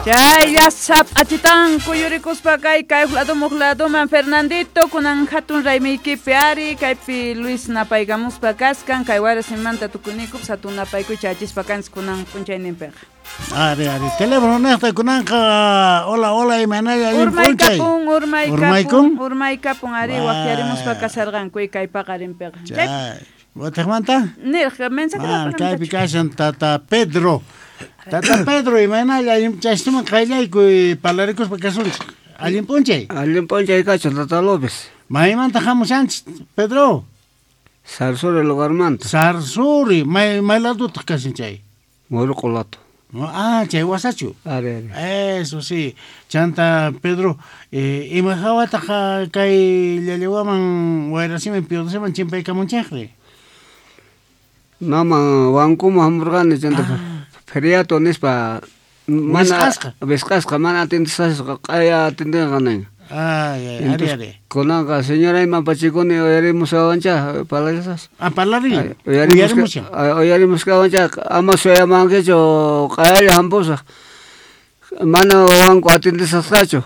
Chaylla sap'achitan kuyurikuspa kay kay laduman Fernandito kunan hatun raymiykipi ari kaypi Luis napaykamuspa kaskan kay warasimanta tukuyniykup hatun napaykuy chayachispa kanchis kunan p'unchayninpiqa. Ari, ari, teléfono niqta kunanqa hola, hola, imaynalla allin p'unchay. Urmaykapun, urmaykapun, urmaykapun ari waqyarimuspa kasarqanku kay paqarinpiqa. Chay. Watiqmanta? Nirqa mensaje kaypi kashan Tata Pedro. Tata Pedro, imaynalla allin chaystuman qayllaykuy parlarikuspa kasunchik. Allin p'unchay. Allin p'unchay kachun Tata López. Maymanta hamushanchik, Pedro? Sarsuri lugarmanta. Sarsuri, may ladutaq kashan chay? Murqu lado. Ah, chay wasachu. Ari, ari. Eso sí. Chanta Pedro, ima hawataq kay llallawaman wayrasiman piodosiman chimpaykamunchikri? Nama wankuman hamurqani chanta feriado nispa mana wisq'asqa mana atendesqasqa q'aya atendenqa nin. Ay, ari, ari. Kunanqa señorayman pachikuni uyarimushawancha parlasas. Ah, parlarin. Uyarimushan. Uyarimushawancha ama suyamankichu q'ayalla hampusaq. Mana wanku atendesqasqachu.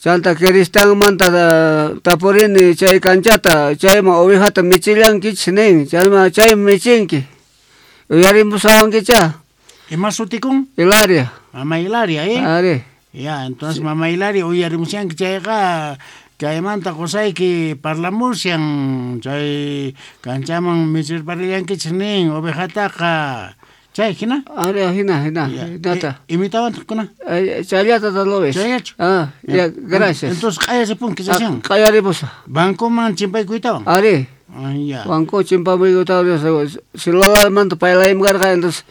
Chanta Kiristanmanta tapurini chay kanchata chayman ovejata michillankichis nin chayman chay michinki uyarimushawankicha. Ima sutikun? Hilaria. Mama Hilaria, ¿eh? Ari. Ya, entonces sí. Mama Hilaria uyarimushanki chayqa kaymanta qusayki parlamushan chay kanchaman michirparillankichis nin ovejataqa. Chay hina? Ari, hina, hina, hinata. Imitawantaq kuna? Chayllata Tata López. Chayllachu? Ah, ya, gracias. Entonces q'ayaripun kisashan. Q'ayaripusaq. Bancoman chimpaykuytawan? Ari. Ya. Banco chimpaykuytawan celularmanta paylaymi karqa entonces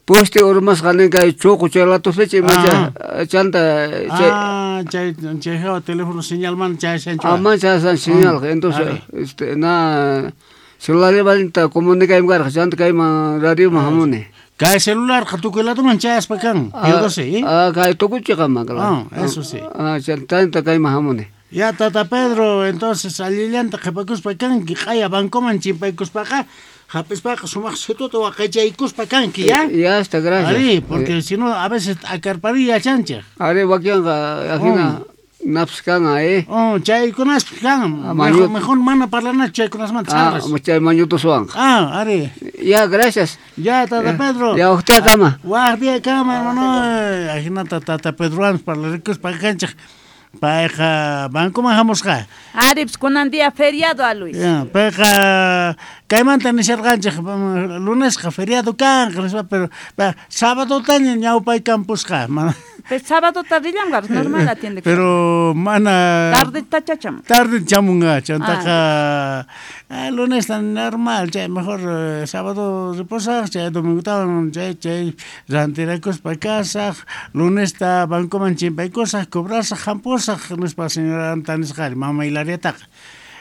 poste urmasqa nin kay chuqu chay latupicha imacha chanta chay ah, chay chay hawa teléfono señalman chayashanchu. Ah, man chayashan señal entonces este na celularmanta comunicaymi karqa chanta kayman radioman hamuni. Kay celular tukuy laduman chayaspa kan, yo sé, ¿eh? Ah, kay tukuchiqaman, claro. Ah, eso sí. Ah, chanta kayman hamuni. Ya, Tata Pedro, entonces allillanta qhipakuspa kanki, q'aya bancoman chimpaykuspaqa, hap'ispaqa sumaq situta waqaychaykuspa kanki, ¿ya? Ya está, gracias. Ari, porque si no, a veces akarpari yachanchik. Ari, wakinqa, ajina naps kan, ¿eh? Oh, chaykunaspi kan. Mejor mana parlanachu chaykunasmanta sarras. Ah, chay mañutuswanqa. Ah, ari. Ya, gracias. Ya, Tata Pedro. Ya, waqtiakama. Waqtiakama, hermano. Ajinata Tata Pedrowan parlarikuspa kanchik. Payqa bancoman hamusqa. Arips kunan día feriado a Luis. Ya, payqa kaymanta nisharqanchik lunesqa feriado kanqa nispa, pero sábadotaña ñawpaykampusqa. Pero sábado tardillam normal atiende. Pero mana tarde tachacham. Tarde chamunga, chantaqa lunes normal, chay mejor sábado reposaq, chay domingo chay chay rantirakuspa kasaq, lunesta bancoman chimpaykusaq, cobrasaq, hampusaq nispa señora nisqari mama Hilariataqa.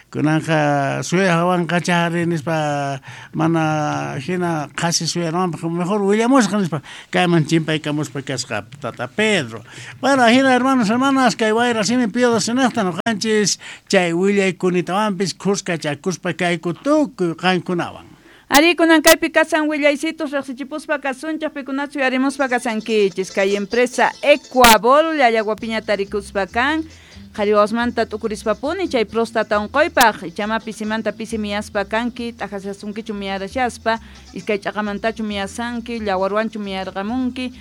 Kunanqa suyawanqa chari nispa mana hina qhasi suyananpaq mejor willamusqa nispa kayman chimpaykamuspa kasqa Tata Pedro. Bueno, hina hermanos, hermanas, kay wayra simi piodosinaqta nuqanchis chay willaykunitawanpis khuskachakuspa kayku tukuy qankunawan. Ari kunan kaypi kasan willaysitos riqsichipuspa kasunchaq pikunachu yarimuspa kasankichis kay empresa Ecuabol llallaguapiña tarikuspa kan qhariwasmanta t'ukurispapuni chay próstata unquypaq ichama pisimanta pisi miyaspa kanki t'aqasasunkichu miyarashaspa iskay ch'aqamantachu miyasanki llawarwanchu miyarqamunki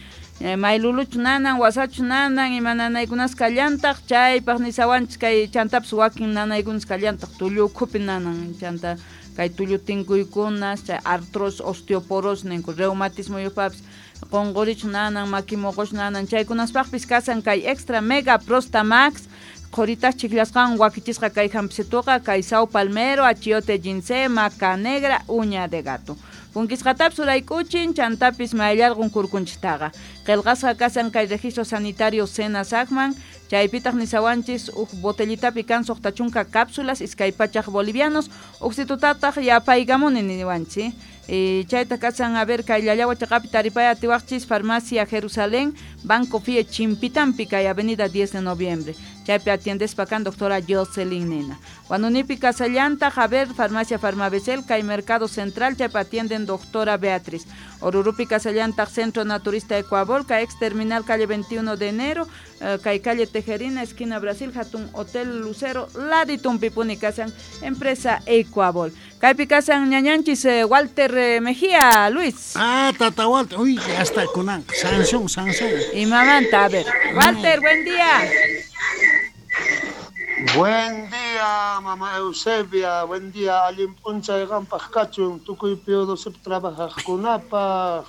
mayluluchu nanan wasachu nanan ima nanaykunas kallantaq chaypaq nisawanchis kay chantapis wakin nanaykunas kallantaq tullu ukhupi nanan chanta kay tullu tinkuykunas chay artrosis osteoporosis ninku reumatismo yupapis qunqurichu nanan maki muquchu nanan chaykunaspaqpis kasan kay extra mega prostamax qhuritas chiklasqan wakichisqa kay hampisituqa kay sao palmero, achiote ginseng, maca negra, uña de gato. Punkisqatapis urayk'uchin chantapis mayllarqun kurkunchiktaqa. Qillqasqa kasan kay registro sanitario Senasacman, chaypitaq nisawanchis uj botellitapi kan suqta chunka cápsulas iskay pachaq bolivianos, uqsitutataq yapaykamuni niwanchis. Chayta kasan a ver kay llallawa chaqapi taripay atiwaqchis Farmacia Jerusalén, Banco Fie Chimpitampi kay Avenida 10 de Noviembre. Chaypi atiendespa kan doctora Jocelyn Nena. Huanunipi kasallanta Javier Farmacia Farmabecel kay Mercado Central chaypi atienden kasan doctora Beatriz. Orurupi kasallantaq Centro Naturista Ecuabol, kay ex terminal calle 21 de enero, kay calle Tejerina, esquina Brasil, hatun Hotel Lucero, laditumpipuni kasan empresa Ecuabol. Kaypi kasan ñañanchis Walter Mejía, Luis. Ah, tata Walter, uy, hasta kunan, sanción, sanción. Y mamanta, a ver. Walter, buen día. Buen día, mamá Eusebia, buen día, allin p'unchay qampaq kachun, tukuy P12 trabajaqkunapaq.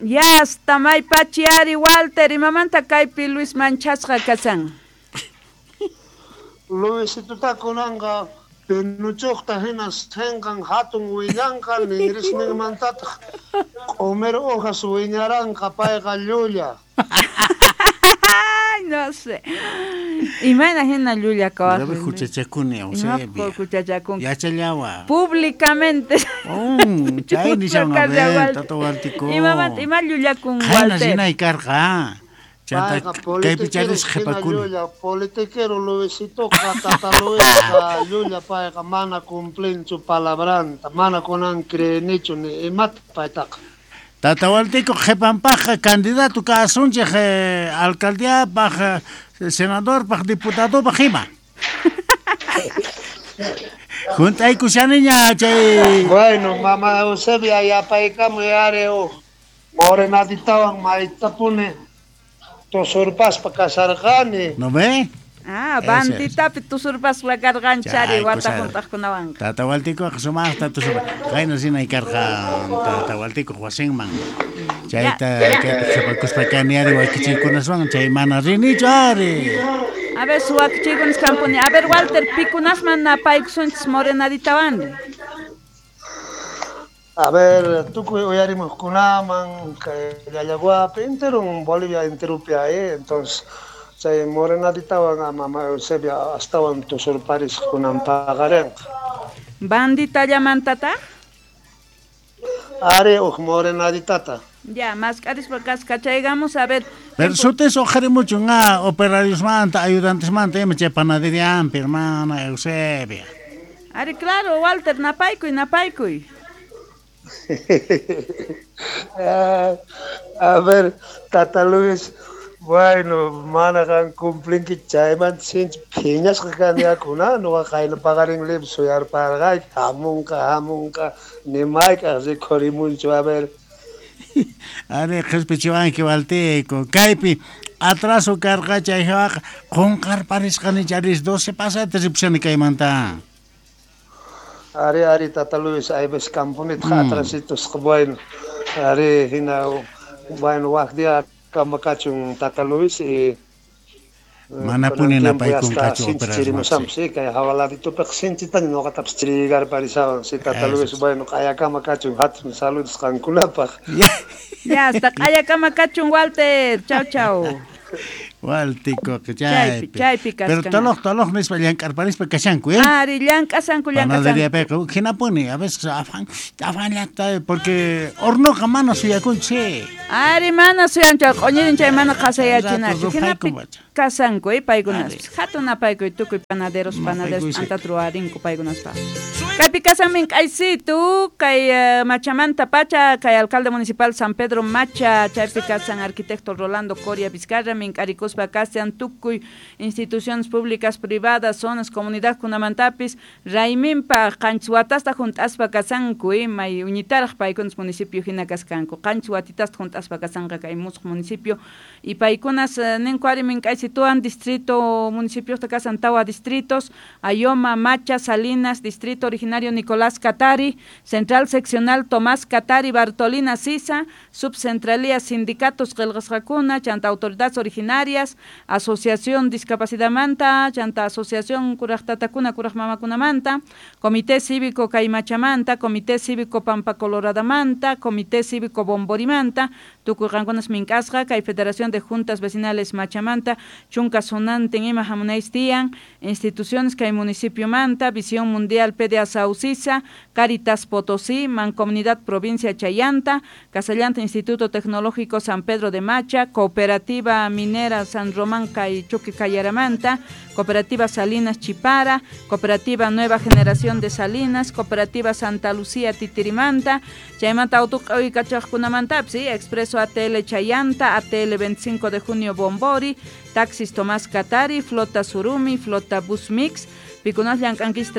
Ya hasta maypachi ari Walter, imamanta kaypi Luis manchasqa kasan. Luisituta kunanqa pinuchuqta hina sinqan hatun willanqa, ninrisninmantataq q'umir hojas wiñaranqa, payqa llulla. Ay, no sé. Imayna hina llulla kawaq. Debe huchachakuni, Eusebia. Huchachakun. Yachallawa. Públicamente. Oh, chay nishan a ver, tata Waltico. Imamanta, ima llullakun Qayna Walter. rinay karqa. Chanta Payqa kaypi politiquero charis hina qhipakuni. llulla, politiquero Luisitoqa, tata Luisqa, llulla payqa mana cumplinchu palabranta, mana kunan creenichu ni imata paytaqa. Tata Waltico qhipanpaqqa candidato kasunchik alcaldiapaq, senadorpaq, diputadopaq ima. Juntaykushaniña chay. Bueno, mamá Eusebia, yapaykamuy ari huk morenaditawan maytapuni tusurpaspa kasarqani. ¿No ve? Ah, Ese es. banditapi tusurpaspa karqanchari Chay, wata kusari. juntaqkunawanqa. Tata Waltico sumaqta tusurpa. Qayna rinay karqa Tata Waltico wasinman. Chayta kaypi qhipakuspa kani ari wakichiykunaswan chay mana rinichu ari. A ver, suwakichiykunas kampuni. A ver, Walter, pikunasman napaykusunchis morenaditawan. A ver, tukuy uyarimuqkunaman kay Llallaguapi enteron Bolivia enteropi ahí, entonces chay morenaditawan mamá Eusebia astawan tusurparisqkunan paqarinqa. Banditallamantataq? Ari huk morenaditata. Ya, mask'arispa kaskachaygamos, a ver. Pero sutis uqharimuchun operariosmanta, ayudantesmanta ima chay panaderianpi, hermana Eusebia. Ari, claro, Walter, napaykuy, napaykuy. A ver, tata Luis, bueno, mana qan cumplinki chaymanta sinchi phiñasqa kaniakuna, nuqa qayna paqarin libre suyarparqayki, hamunqa, hamunqa, ni mayk'aq rikhurimunchu, a ver. Ari, qhispichiwanki Waltico, kaypi atraso karqa chay hawaqa qunqarparisqani charis 12 pasata ripushani kaymanta. Ari, ari, tata Luis, hay veces camponit atrasitos, bueno, ari, hina, bueno, wak día kamakachun tata Luis y Manapuni napaykunqachu chirimusam, sí, kay hawaladitupiq sinchitaña ñuqatapas chirigarparisawan, sí, tata Luis, bueno, q'ayakama kachun, hatun saludos qankunapaq. Ya, hasta q'ayakama kachun, Walter, chau, chau. Waltico, Chaypi, chaypi Pero kaskan. toloq, toloq nispa llank'arparispa kashanku, ¿eh? Ari, llank'asanku, llank'asanku. Panaderiapiqa hinapuni, a veces afan, afanllata, porque hornoqa mana suyakunchu, sí. Ari, mana suyanchu, q'uñirin chay mana qasayachinachu. Rato Hinapi ruphaykun pacha. kasanku, paykunaspis. Hatun apaykuy tukuy panaderos, panaderos, Mapaykuy, sí. antata ruwarinku paykunaspaq. Kaypi kasan mink'aysitu, kay Machamanta pacha, kay alcalde municipal San Pedro Macha, chaypi kasan arquitecto Rolando Coria Vizcarra, mink'arikuspa kasan tukuy instituciones públicas, privadas, zonas, comunidad kunamantapis, rayminpa qanchis watasta junt'aspa kasanku, may uñitaraq paykunas municipio hina kaskanku, qanchis watitasta junt'aspa kasanqa kay musuq municipio, y paykunas ninku ari mink'aysituwan distrito municipiosta kasan tawa distritos, Ayoma, Macha, Salinas, distrito originario Nicolás Catari, central seccional Tomás Catari, Bartolina Sisa, subcentralía sindicatos qillqasqakuna, chanta autoridades originarias, asociación discapacidadmanta, chanta asociación kuraq tatakuna kuraq mamakunamanta, comité cívico Caimachamanta, comité cívico Pampa Coloradamanta, comité cívico Bomborimanta, Tukuy qankunas mink'asqa kay Federación de Juntas Vecinales Machamanta chunka sonantin ima hamunaychis tiyan instituciones kay municipiomanta Visión Mundial PDA Saucisa, Caritas Potosí, Mancomunidad Provincia Chayanta, Casallanta Instituto Tecnológico San Pedro de Macha, Cooperativa Minera San Román kay Chuqui Cayaramanta, Cooperativa Salinas Chipara, Cooperativa Nueva Generación de Salinas, Cooperativa Santa Lucía Titirimanta, chaymanta autuq'uykachaqkunamantapis, ¿sí? Expreso ATL Chayanta, ATL 25 de junio Bombori, Taxis Tomás Catari, Flota Surumi, Flota Bus Mix, pikunas llank'ankichis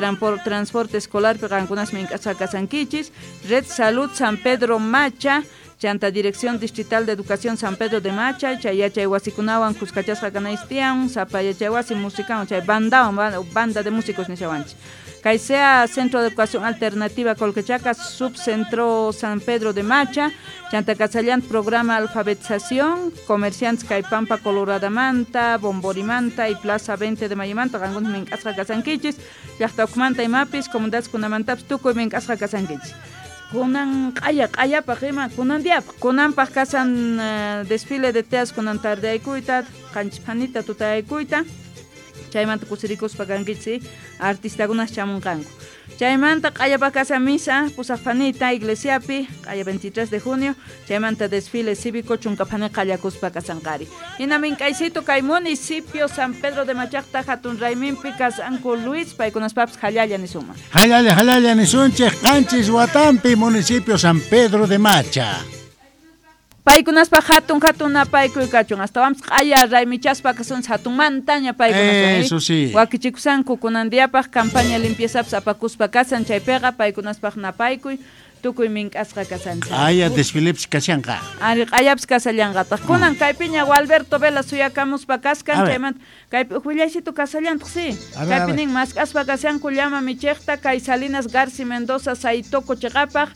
transporte escolar piqankunas mink'asqa kasankichis, Red Salud San Pedro Macha, chanta Dirección Distrital de Educación San Pedro de Macha, chay yachay wasikunawan kuskachasqa kanaychis tiyan, sapa yachay wasi musicawan, chay bandawan, banda de músicos nishawanchis. Kay sea Centro de Educación Alternativa Colquechaca, Subcentro San Pedro de Macha, chanta Casallant Programa Alfabetización, Comerciantes Pampa Coloradamanta, Bomborimanta y Plaza 20 de Mayomanta, qankunas mink'asqa kasankichis, llaqta ukhumanta imapis, comunidades kunamantapis tukuy mink'asqa kasankichis. Kunan q'aya q'ayapaq ima kunan diapaq kunanpaq kasan desfile de teas kunan tardeaykuyta qanchis phanita tutayaykuyta chaymanta kusirikuspa kankichis artistakunas chamunqanku chaymanta q'ayapaq kasan misa pusaq phanita iglesiapi q'aya 23 de junio chaymanta desfile cívico chunka phani qallakuspa kasanqari hina mink'aysito kay municipio San Pedro de Machaqta hatun rayminpi kasanku Luis paykunaspapis hallalla nisunman hallalla hallalla nisunchik qanchis watampi municipio San Pedro de Macha. Paykunaspa hatun hatun napaykuy kachun astawanpis q'aya raymichaspa kasunchis hatunmantaña paykunas. Eso sí. Wakichikusanku kunan diapaq campaña limpiezapis apakuspa kasan chaypiqa paykunaspaq napaykuy tukuy mink'asqa kasanchis. Q'aya desfilepis kashanqa. Ari q'ayapis kasallanqataq. Kunan kaypiña Gualberto Vela suyakamuspa kaskan chaymanta kaypi willaysitu kasallantaq sí. Kaypi nin mask'aspa kashanku llama michiqta kay Salinas Garci Mendoza Saitoco chiqapaq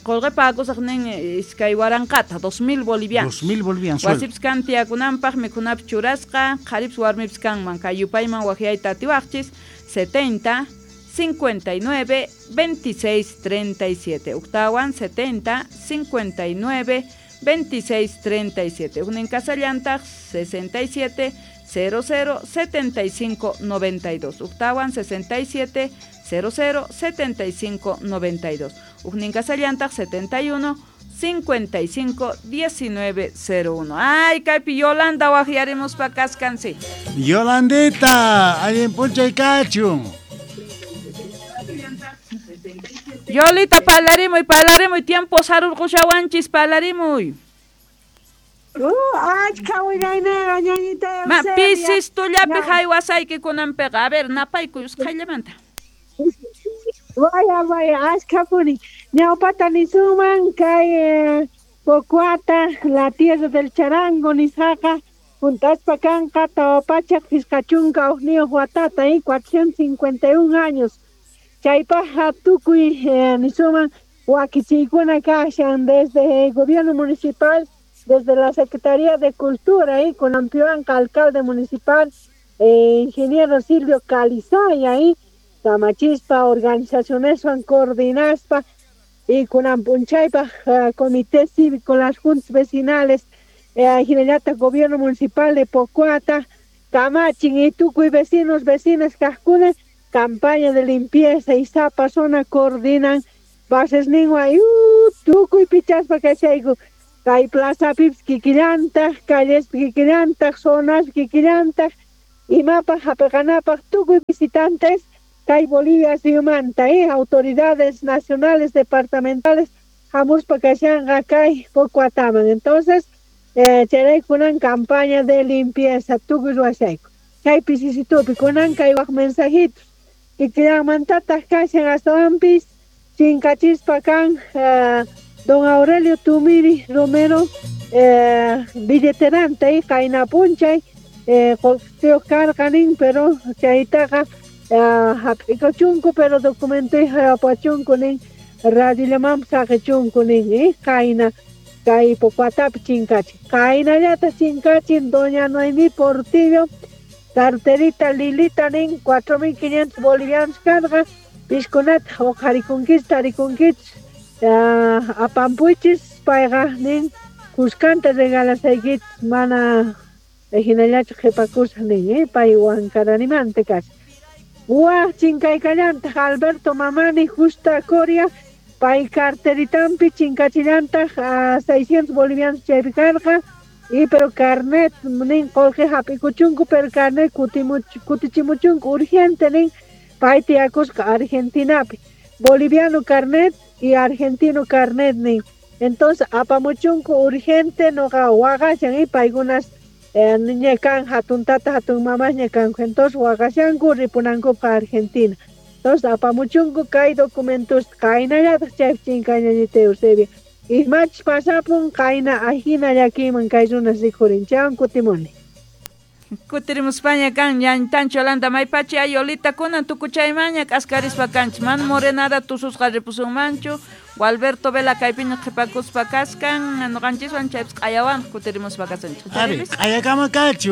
qullqipa akusaq nin 2000 2000 bolivianos. 2000 bolivianos. Wasipis kan tiyakunanpaq mikhunapis churasqa qharipis warmipis kanman kay yupayman waqyayta atiwaqchis 70 59 26 37. Octawan 70 59 26 37. Ujnin kasallantaq 67 00 75 92. Octawan 67 00 75 92. Ujnin kasallantaq 71 55 19 01. Ay, kaypi Yolanda waqyarimuspa kaskansi. Yolandita, allin p'unchay kachun. Yolita, parlarimuy, parlarimuy, tiempo sarurqushawanchis, parlarimuy. Achka willaynaqa ñañita. Ma pisis tullapi haywasayki kunanpiqa. A ver, napaykuy usqhayllamanta. Vaya, vaya, achkapuni. Ñawpata nisunman kay Pocuata, la tierra del charango nisqaqa, juntaspa kanqa tawa pachak pishqa chunka hukniyuq watata, 451 años. Chaypaqqa tukuy nisuman wakichiykuna kashan desde el gobierno municipal, desde la Secretaría de Cultura, con Ampiuanca, alcalde municipal, ingeniero Silvio Calizaya, Tamachispa, organizaciones son coordinaspa, y con Ampunchaypa, Comité Cívico, las juntas vecinales, Jinellata, gobierno municipal de Pocuata, Camachin y tukuy vecinos, vecinas, kaqkuna, campaña de limpieza y sapa zona coordinan bases ningua tukuy pichaspa kashayku kay plaza pips kikillantaq calles kikillantaq zonas kikillantaq imapaq hapiqanapaq tukuy visitantes kay Bolivia suyumanta autoridades nacionales departamentales hamuspa kashanqa kay Pocuataman. Entonces chayraykunan campaña de limpieza tukuy ruwashayku chay pisisitupi kunan kay waq mensajitos kikillanmantataq kashan astawanpis chinkachispa kan don Aurelio Tumiri Romero billeteranta qayna p'unchay qullqiyuq karqa nin pero chaytaqa hap'ikuchunku pero documentoy apachunku nin radiollamanpis saqichunku nin qayna kay Pocuatapi chinkachin qaynallata chinkachin doña Noemí Portillo carterita Lilita nin 4500 bolivianos karqa piskunata uqharikunkichis tarikunkichis apampuychis payqa nin Kuskanta regalasaykichis mana hinallachu qhipakusaq nin, pay Huancaranimanta kashan. Waj chinkaykallantaq Alberto Mamani Justa Coria, pay carteritampi chinkachillantaq 600 bolivianos chaypi karqa, y pero carnet nin qolqe hap'ikuchunku, pero carnet kutichimuchunku urgente nin, pay tiyakusqa Argentinapi. Boliviano carnet y argentino carnet nin. Entonces apamuchunku urgente noqa waqashan y paykunas ña kan hatun tata hatun mamas ña kanku, entonces waqashanku ripunankupaq Argentina. Entonces apamuchunku kay documentos qaynallataq chaypi chinkayñañita Eusebio. Imachus pasapun qayna ajina llakiyman kay runas rikhurin, chaywan kutimuni. Kutirimuspaña kan ñantancho Yolanda maypachi ayolita kunan tukuchaymaña k'askarispa kanchis man morenada tususqa ripusunmanchu Gualberto Vela kaypiña qhipakuspa kaskan ñuqanchiswan chaypis q'ayawan kutirimuspa kasunchik. Ari, q'ayakama kachu.